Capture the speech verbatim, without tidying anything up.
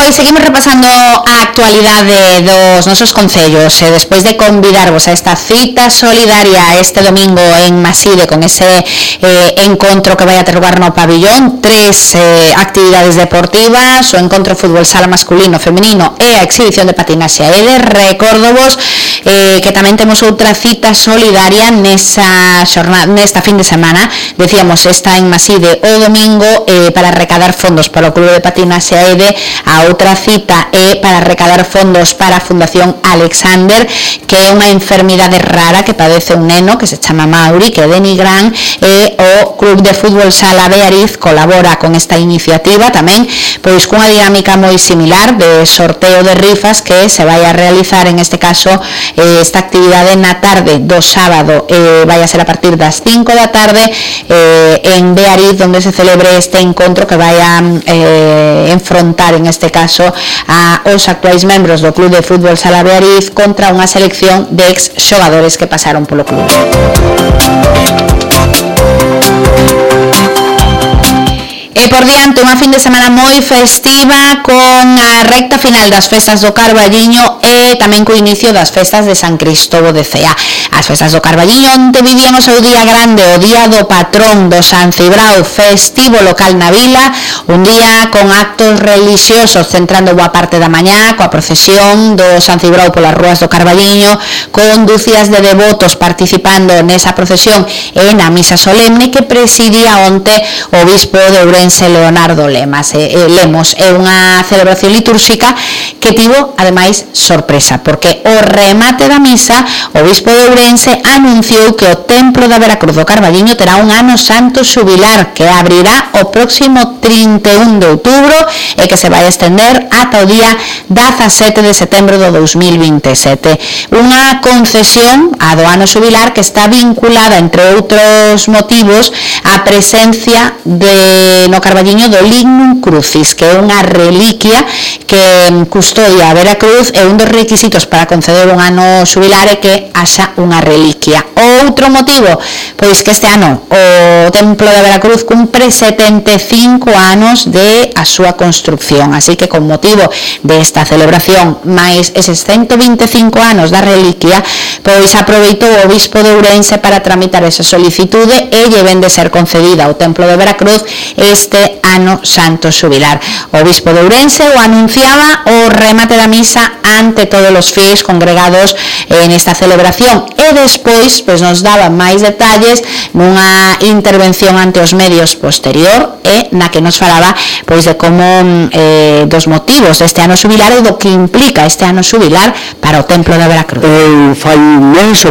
Pois seguimos repasando a actualidade dos nosos concellos e despois de convidarvos a esta cita solidaria este domingo en Maside con ese eh, encontro que vai a ter lugar no pabillón, tres eh, actividades deportivas, o encontro fútbol sala masculino, femenino e a exhibición de patinaxe a Ede. Recórdovos eh, que tamén temos outra cita solidaria nesa xornada, nesta fin de semana, decíamos esta en Maside o domingo eh, para recadar fondos para o Clube de Patinaxe a Ede. A outra cita é para recadar fondos para a Fundación Alexander, que é unha enfermidade rara que padece un neno que se chama Mauri, que é de Nigrán, e o Club de Fútbol Sala Beariz colabora con esta iniciativa tamén, pois cunha dinámica moi similar de sorteo de rifas que se vai a realizar en este caso eh, esta actividade na tarde do sábado, eh, vai a ser a partir das cinco da tarde eh, en Beariz, onde se celebre este encontro que vai a eh, enfrontar en este caso a os actuais membros do Club de Fútbol Sala Beariz contra unha selección de ex xogadores que pasaron polo club. E por diante unha fin de semana moi festiva con a recta final das festas do Carballiño e tamén co inicio das festas de San Cristóbal de Cea. As festas do Carballiño onde vivían o seu día grande, o día do patrón do San Cibrao, festivo local na vila, un día con actos religiosos centrando boa parte da mañá coa procesión do San Cibrao polas rúas do Carballiño, con dúcias de devotos participando nesa procesión e na misa solemne que presidía onte o bispo de Ourense Leonardo Lemas, eh, Lemos. É unha celebración litúrxica que tivo, ademais, sorpresa, porque o remate da misa o bispo de Ourense anunciou que o templo da Veracruz do Carballiño terá un ano santo xubilar que abrirá o próximo trinta e un de outubro e que se vai estender ata o día dezasete de setembro do dos mil vinte e sete. Unha concesión a do ano xubilar que está vinculada, entre outros motivos, á presencia de no Carballiño do Lignum Crucis, que é unha reliquia que custodia a Veracruz, e un dos requisitos para conceder un ano xubilar é que haxa unha reliquia. Outro motivo, pois que este ano o Templo de Veracruz cumpre setenta e cinco anos de a súa construcción, así que con motivo desta celebración máis eses ciento vinte e cinco anos da reliquia, pois aproveitou o bispo de Ourense para tramitar esa solicitude e lle ven de ser concedida ao Templo de Veracruz este ano santo xubilar. O bispo de Ourense o anunciaba o remate da misa ante todos os fiéis congregados en esta celebración e despois pois nos daba máis detalles nunha intervención ante os medios posterior e na que nos falaba pois de como eh, dos motivos deste ano xubilar e do que implica este ano xubilar para o Templo de Veracruz. Eh, fai un mes